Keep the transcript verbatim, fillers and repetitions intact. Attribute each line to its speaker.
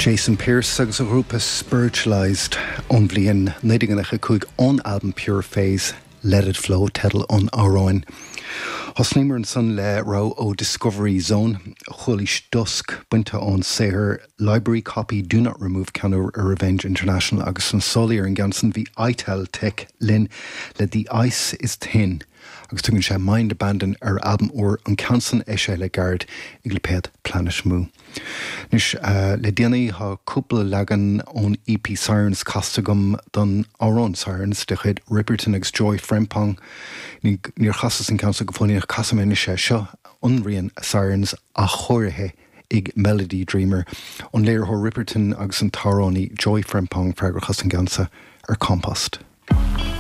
Speaker 1: Jason Pierce agus a ghrúpa Spiritualized ón bhliain naoi déag nócha cúig ón albam Pure Phase Let It Flow teideal an amhráin. Thosnaíomar ansan le rogha ó Discovery Zone chualaís Dusk bainte ón saothar Library Copy Do Not Remove ceann ar Revenge International agus an solaí ar an gceann san bhí itel Tech linn le The Ice is Thin. agus tugann sé Mind Abandon ar albam úr an ceann san eisithe le gairid i lipéad Planet Mu. Anois uh, le déanaí tá cúpla leagan ón EP Sirens casta agam don amhrán Sirens de chuid Ripperton agus Joy Frempong. Níor chasas an ceann go fóill casfaidh mé sé seo an rian Sirens athchóirithe ag Melody Dreamer, an léiritheoir Ripperton agus an t-amhránaí Joy Frempong freagrach as an gceann seo ar Compost.